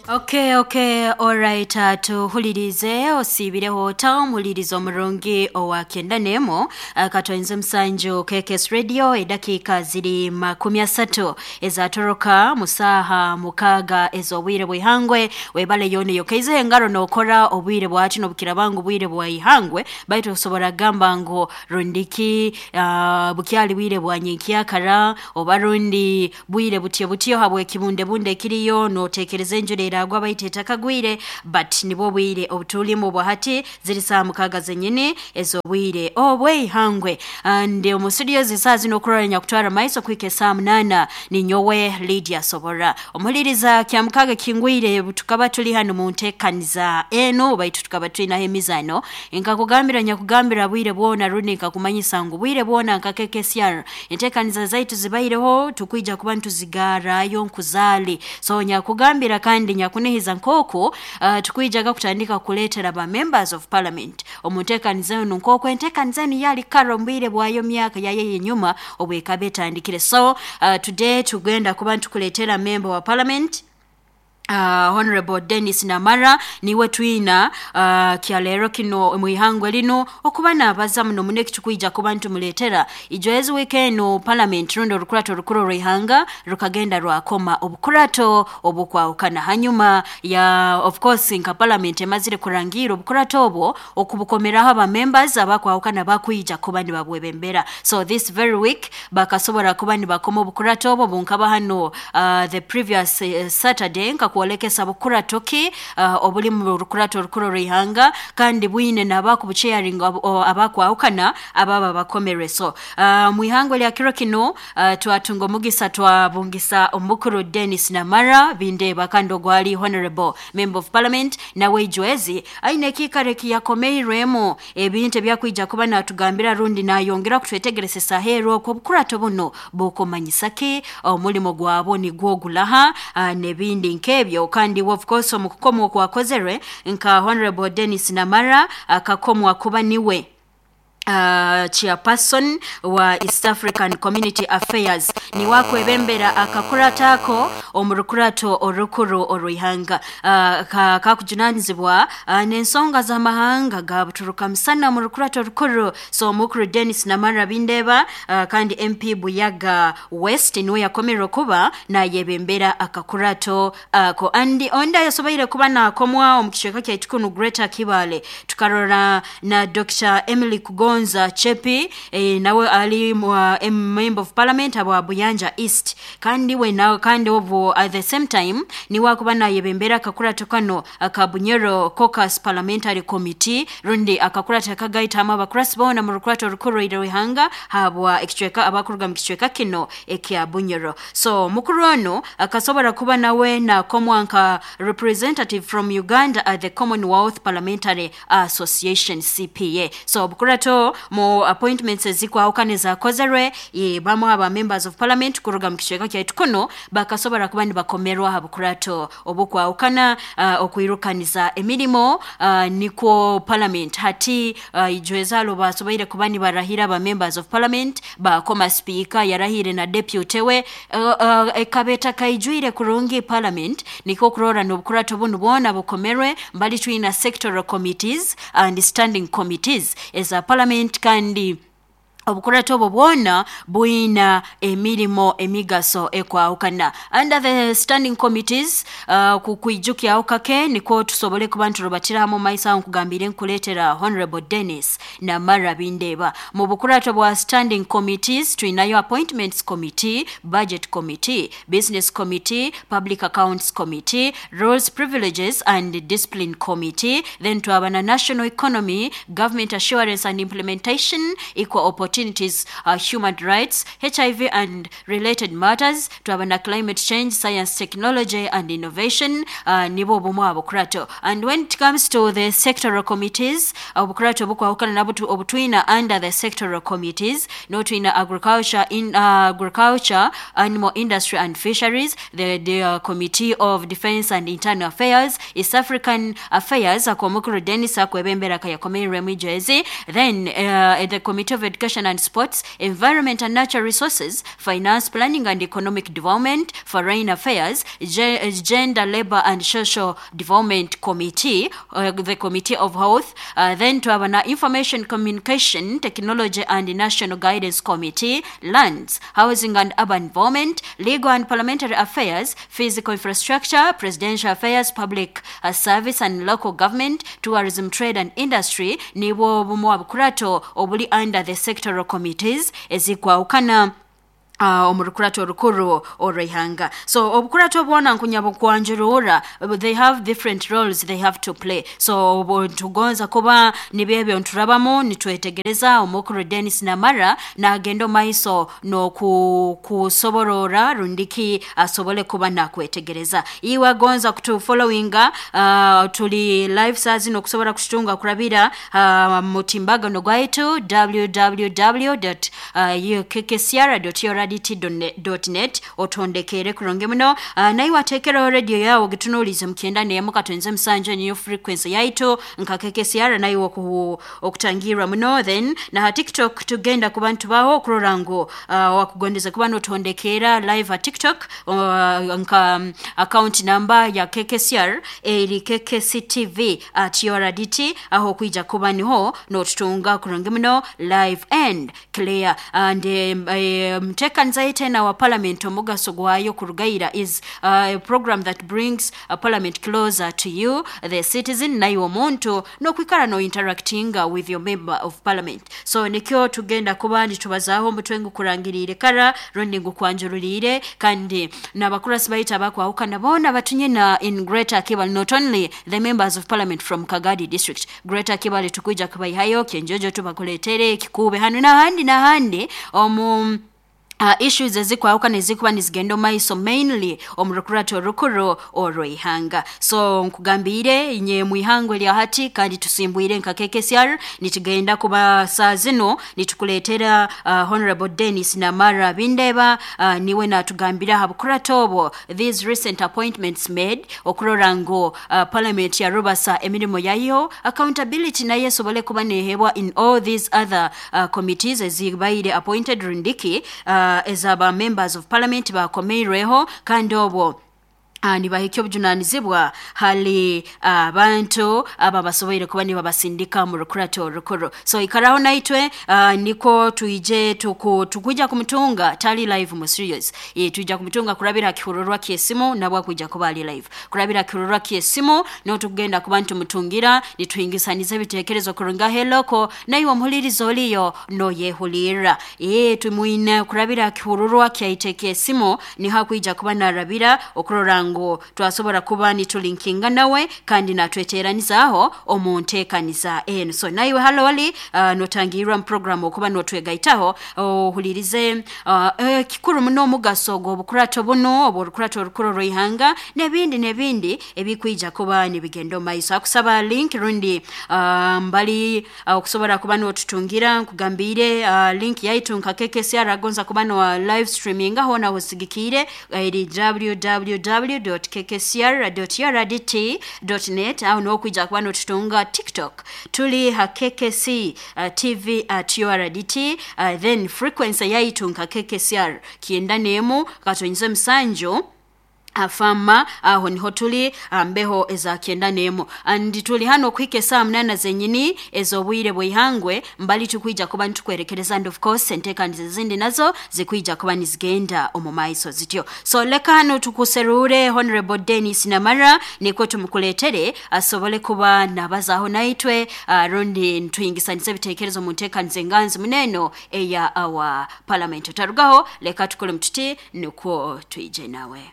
Okay, alright. Tuhulirize osiibireho ota omuhuliriza omurungi owa 91 katwenze musanju KKS Radio. Edakiika ziri 30 ezatoroka musaha 6 ez'obwire bw'ihangwe. Webale yona yokaizeho engaro n'okora obwire bwaki n'obukiraba ngu bwire bwa ihangwe, baitu osobora kugamba ngu rundiki bukyali bwire bwa nyenkyakara oba rundi bwire butyo butyo habw'ekibundebunde ekiriyo, n'oteekereza enjura eragwa baitu etakagwire, but nibwo bwire obutulimu bwahati. Ziri saaha 6 zenyini ez'obwire obw'eihangwe, and omu studio zisaaha zino okurora nyakutwara maiso kuhika esaaha 8 ninyowe Lydia Sobora. Omuhuliriza, kya 6 kingwire tukaba tuli hanu mu nteekaniza enu, baitu tukaba twinaho emizaano. Nkakugambira, nyakugambira bwire bwona, rundi nkakumanyisa ngu bwire bwona nka KKSR enteekaniza zaitu zibaireho, tukwija kuba ntuzigarayo nkuzaali. So nyakugambira kandi nyakunihiza nk'oku tukwijaga kutandika kuleetera ba members of parliament omu nteekaniza enu, nk'oku enteekaniza enu yali kara omu bwire bwayo, myaka yayo ey'enyuma obwekaba etandikire. So today tugenda kuba nitukuleetera member wa parliament, Honorable Dennis Namara. Niwe twina kyaleero kino mwihangwe lino okuba nabaza muno muno ekitukwija kuba ntumuleetera. Ijwezi wiiki enu parliament rundi orukurato orukuru orw'ihanga rukagenda rwakoma obukurato obukwahukana hanyuma ya, of course, nka parliament emazire kurangira obukurato obwo okubukomeraho aba members abakwahukana bakwija kuba nibabwebembera. So this very week bakasobora kuba nibakoma obukurato obwo. Bunkaba hano the previous Saturday nkakwolekesa bukurato ki obuli mu rukurato orukuru orw'ihanga, kandi bwine n'abakubuchairinga abakwahukana ababa bakomerwe. So mwihangwe lya kiro kino twatunga omugisa twabungisa omukuru Dennis Namara Bindeeba, kandi ogwali honorable member of parliament, nawe ijwezi aine ekiikaro ekiyakomeirwemu ebintu ebyakwija kuba natugambira rundi nayongera kutwetegeresa aheeru okwo obukurato buno bukumanyisa ki, omulimo gwabo nigwo gulaha, n'ebindi nk'ebyo. Kandi of course omu kukomwa okwakozerwe nka Honorable Dennis Namara akakomwa kuba niwe chairperson wa East African Community Affairs, niwe akwebembera akakurato ako omu rukurato orukuru orw'ihanga, kakujunanizibwa n'ensonga z'amahanga ga buturuka musana mu rukurato orukuru. So omukuru Dennis Namara Bindeeba, kandi MP Buyaga West, niwe yakomerwe kuba nayebembera akakurato ako. Andi ondi yasoboire kuba nakomwa omu kicweka kyaitu kunu Greater Kibaale, tukarora na Dr Emily Kugonza Chepi, nawe ali member of parliament aba Buyanja East, kandi we na kandi obu at the same time niwe akuba nayebembera akakurato kano aka Bunyoro Caucus Parliamentary Committee, rundi akakurato akagaitamu abakurasi boona mu rukurato orukuru rw'ihanga habwa ekicweka abakuruga mu kicweka kino ekya Bunyoro. So mukuru ono akasobora kuba nawe nakomwa nka representative from Uganda at the Commonwealth Parliamentary Association, CPA. So obukurato mu appointments ezikwahukana ezakozerwe, bamu aba members of parliament kuruga mu kicweka kyaitu kuno bakasobora kuba nibakomerwa ha bukurato obukwahukana okwirukaniza emirimo nikwo parliament hati ijwezalo basoboire kuba nibarahira aba members of parliament, bakoma speaker yarahire na deputy we, ekabeta kaijwire kurungi parliament, nikwo kurora n'obukurato bunu bwona bukomerwe. Mbali twina sectoral committees and standing committees eza parliament, kandi obukurato obwo bwona bwina emirimo emigaso ekwahukana under the standing committees. Kukwijukyaho kake nikwo tusobole kuba nturubatira hamu maiso aho nkugambire nkuleetera Honorable Dennis Namara Bindeeba. Mu bukurato bwa standing committees twinayo appointments committee, budget committee, business committee, public accounts committee, rules, privileges and discipline committee. Then twaba na national economy, government assurance and implementation, equal opportunities, human rights, HIV and related matters. Twaba na climate change, science, technology and innovation. Nibo obumu abukurato. And when it comes to the sectoral committees, obukurato obukwahukana nabo obutwina under the sectoral committees, notwina agriculture, in agriculture, animal industry and fisheries, the committee of defense and internal affairs, East African Affairs, akomukuru Dennis akwebembera kayakomerwe mwijezi, then the committee of education. Recreation and Sports, Environment and Natural Resources, Finance, Planning and Economic Development, Foreign Affairs, Gender, Labor and Social Development Committee, the Committee of Health, then twaba na Information Communication Technology and National Guidance Committee, Lands, Housing and Urban Development, Legal and Parliamentary Affairs, Physical Infrastructure, Presidential Affairs, Public Service and Local Government, Tourism, Trade and Industry. Nibwo bumu obukurato obuli under the sectoral committees ezikwawukana omu rukurato orukuru orw'ihanga. So obukurato bwona nkunyabo kwanjurura, they have different roles they have to play. So obu tugonza kuba nibyebyo nturabamu nitwetegereza omukuru Dennis Namara nagenda omaiso n'okusoborora rundiki asobole kuba nakwetegereza. Iwe agonza kutufollowinga, tuli live saa zino okusobora kututunga kurabira mutimbagano gwaitu www.kkcr.urdt.net, otondekere kurungi muno. Naiwe atekereho radio yawe ogitunuulize mukyenda nemu katonze musanju niyo frequency yaitu nka KKCR, naiwe okutangirwa muno. Then na TikTok tugenda kuba ntubaho okurora ngu wakugondeza kuba notondekera live ha TikTok, nka account number ya KKCR eri KKCTV at URDT, aho kwija kuba niho notutunga kurungi muno live and clear. And mtekanza tena wa parliament omugaso gwayo kurugaira is a program that brings a parliament closer to you the citizen, naiwe omuntu nokwikara no interacting with your member of parliament. So nikyo tugenda kuba nitubazaaho omutwe ngukurangiriire kara rundi ngukwanjururiire, kandi n'abakurasi baita abakwahukana boona batunyina in Greater Kibale, not only the members of parliament from Kagadi district. Greater Kibale tukwija kubaihayo Kyenjojo tubakuletere Kikube hanu n'ahandi n'ahandi omu issues ezikwawukana ezikuba nizigenda omaiso mainly omu rukurato orukuru orw'ihanga. So nkugambiire inye mwihangwe erya hati kandi tusimbwire nka KKCR, nitugenda kuba saa zino nitukuleetera Honorable Dennis Namara Bindeba, niwe natugambira aha bukurato obwo these recent appointments made okurora ngu parliament yarubasa emirimo yayo, accountability nayo esobole kuba nehebwa in all these other committees ezibaire appointed rundiki ezaba members of parliament bakomeirweho, kandi obwo nibahikya obujunanizibwa hali abantu aba basoboire kuba nibabasindika mu rukurato orukuru. So ikaraho naitwe, niko tuije tukuja kumutunga tali live mu serious. Tuija kumutunga kurabira kihururwa kyesimu nabwo kuja kuba ali live kurabira kihururwa kyesimu, no tugenda kuba ntumutungira nituhingisaniza ebitekerezo kurunga heloko naiwe omuhulirizo oliyo no yehulira. Tumuine kurabira kihururwa kyaite kyesimu niho akuija kuba narabira okurora ngo twasobora kuba nitulinkinga nawe kandi natweteranizaaho omu nteekaniza eno. So naiwe haloli notangirwa mu program okuba notwegaitaho ohulirize kikuru muno omugaso gw'obukurato buno obw'orukurato orukuru orw'ihanga n'ebindi n'ebindi ebikwija kuba nibigenda omaiso. Akusaba link rundi mbali okusobora kuba notutungira nkugambiire link yaitu nka KKCR agonza kuba no live streaming aho naho sigikiire eri www.kkcr.urdt.net, aho nokwija kuba notutunga TikTok tuli ha KKC TV at URDT, then frequency yaitu nka KKCR kyenda nemu katonyize musanju afama, aho niho tuli mbeho eza kyenda nemu, and tuli hano okuhika esaa 8 zenyini ez'obwire bw'ihangwe mbali tukwija kuba nitukwerekereza, and of course enteekaniza ezindi nazo zikwija kuba nizigenda omu maiso zityo. So leka hano tukuserure Honorable Dennis Namara nikwo tumukuletere asobole kuba nabazaho naitwe, rundi nituhingisaniza ebitekerezo mu nteekaniza enganzi muneno eya our parliament. Otarugaho, leka tukole mututi nikwo twije nawe.